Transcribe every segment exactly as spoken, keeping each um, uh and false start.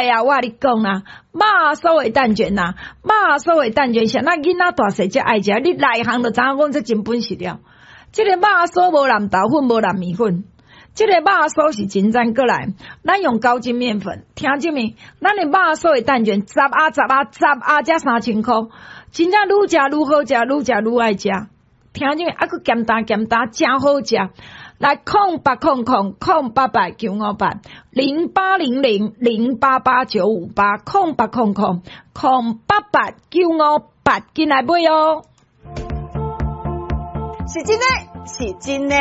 來啊，我共你講啦，肉酥的蛋捲啦，肉酥的蛋捲，啥那囡仔大細才愛食，你內行就知影講這真本事了。這個肉酥無淋豆粉，無淋麵粉，這個肉酥是真正過來，咱用高筋麵粉，聽這物，咱的肉酥的蛋捲，十盒十盒十盒才三千箍，真正愈食愈好食，愈食愈愛食。聽這物，啊，閣鹹淡鹹淡，誠好食。來空八空空空八八九五八零八零零零八八九五八空八空空空八八九五八，緊來買哦！是真的，是真的，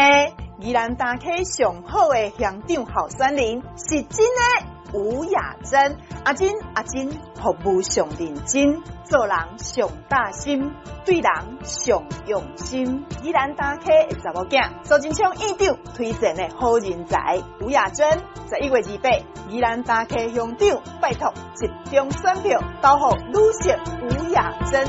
宜蘭大溪上好的鄉長候選人是真的。吳雅珍，阿珍阿珍，服務上認真，做人上貼心，對人上用心。宜蘭大溪的查某囝，蘇貞昌院長推薦的好人才，吳雅珍，十一月二八，宜蘭大溪鄉長，拜託集中選票投予女性吳雅珍。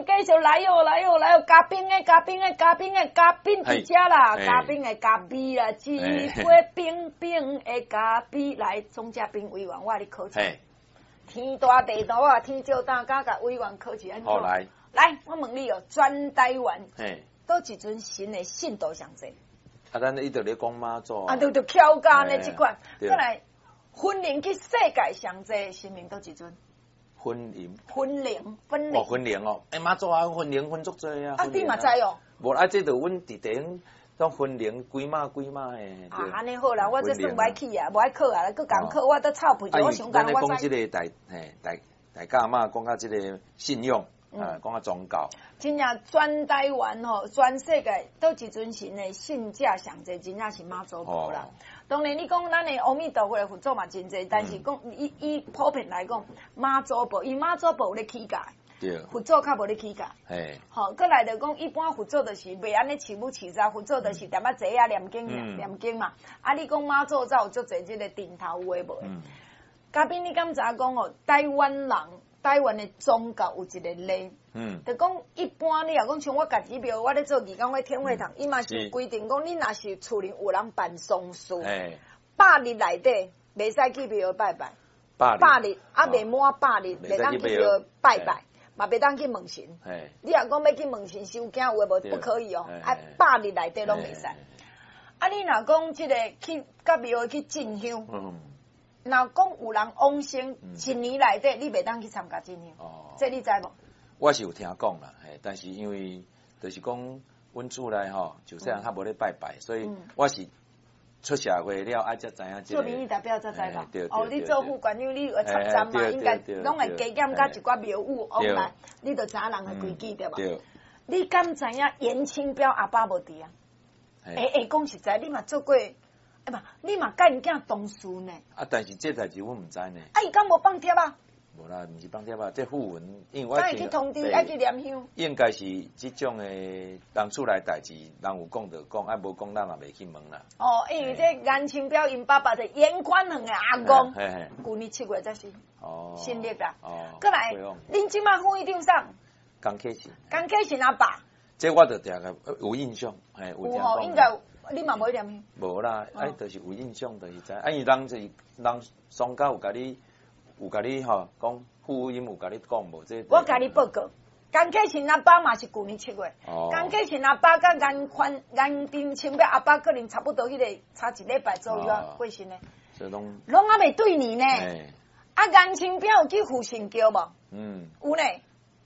繼續來喲，來喲，來喲！嘉賓的，嘉賓的，嘉賓的，嘉賓佇遮啦，嘉賓的咖啡啦，一杯冰冰的咖啡來，總嘉賓委員，我共你考試。天大地大啊，天照大家共委員考試按怎？好來，來，我問你哦，全台灣，佗一尊神的信徒上濟？啊，咱一直咧講媽祖啊，對對，蹺價呢這款，過來，分靈去世界上濟神明佗一尊？分靈，分靈，分靈，哦，分靈哦，欸，媽祖啊，分靈分足濟啊！啊，你嘛知哦？無啊，這就阮佇地方當分靈幾碼幾碼的。啊，按呢好啦，我這算歹去啊，無愛考啊，閣共考，我都臭屁，我想講我知。講這個大嘿大大家嘛，講到這個信仰啊，講到宗教。真正全台灣吼，全世界佗一尊神的信者上濟，真正是媽祖婆啦。當然，你講咱的阿彌陀佛的佛祖嘛真濟，但是講以以普遍來講，媽祖婆，伊媽祖婆有咧起價，佛祖較無咧起價。吼，閣來就講，一般佛祖就是袂按呢飼母飼查，佛祖就是踮仔坐啊念經念經嘛。啊，你講媽祖才有足濟這個陣頭有的無的。嘉賓，你敢知影講哦？台灣人，台灣的宗教有一個例，嗯，就講一般你若講像我家己廟，我咧做義工，我天會堂，伊嘛是規定講，你若是厝裡有人辦喪事，百日內底袂使去廟拜拜，百日啊未滿百日，袂當去廟拜拜，嘛袂當去問神。你若講欲去問神收驚有的無？不可以哦，啊百日內底攏袂使。啊，你若講這個去佮廟去進香。若講有人往生，一年內底你袂當去參加進香，這你知無？我是有聽講啦，嘿，但是因為就是講，阮厝內吼，就細漢較無咧拜拜，所以我是出社會了，愛才知影這個。做民意代表才知吧？哦，你做副縣長，你有插針嘛？應該攏會加減佮一寡廟宇往來，你就知影人的規矩對無？你敢知影顏清標阿爸無佇啊？會會講實在，你嘛做過。欸無，你嘛佮𪜶囝同事呢？啊，但是這代誌阮毋知呢。啊，伊敢無放帖啊？無啦，毋是放帖啊，這訃聞，因為我愛去通知，愛去念香。應該是這種的人厝內代誌，人有講就講，啊無講咱嘛袂去問啦。哦，因為這顏清標𪜶爸爸是顏寬恆的阿公，舊年七月才死。哦。新曆啦。哦。閣來，恁這馬副院長啥？江啟臣。江啟臣阿爸。這我就定個有印象，嘿，有吼，應該有。你嘛無念香？無啦，啊，就是有印象，就是知。啊，因為人就是人喪家有共你，有共你吼講，副音有共你講無？這我共你報告，江啟臣阿爸嘛是舊年七月。江啟臣阿爸佮顏寬顏清標阿爸可能差不多彼個差一禮拜左右啊過身的。攏攏猶未對年呢。啊，顏清標有去護神轎無？嗯。有呢。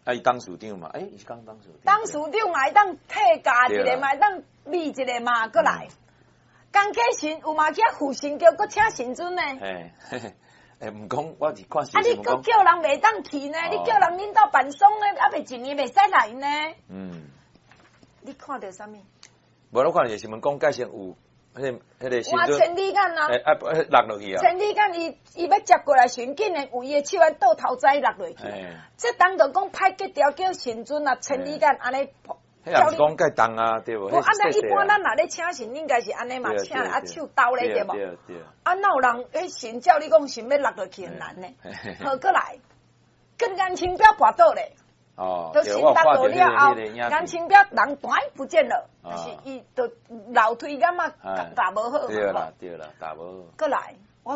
啊，伊董事長嘛，欸，伊是講董事長。董事長嘛會當退價一個嘛，會當米一個嘛，閣來。江啟臣有嘛去護神轎，閣請神尊呢？嘿，欸，毋講，我是看。啊，你閣叫人袂當去呢？你叫人恁兜辦喪呢，猶未一年袂使來呢？嗯。你看著啥物？無，我看著新聞講，蓋先有彼個彼個哇，千里眼啊！欸啊，落落去啊！千里眼伊伊欲接過來時，竟然有伊的手按倒頭栽落落去。這當就講歹格調叫神尊啊，千里眼按呢。彼也毋是講蓋重啊，對無？無，按呢一般咱若咧請神，應該是按呢嘛，請啊手兜咧對無？啊，哪有人彼神照你講神欲落落去很難呢？好，閣來，閣顏清標跋倒咧。哦，就神落落了後，顏清標人斷不見了，就是伊就樓梯敢嘛踏無好。對啦對啦，踏無好。閣來，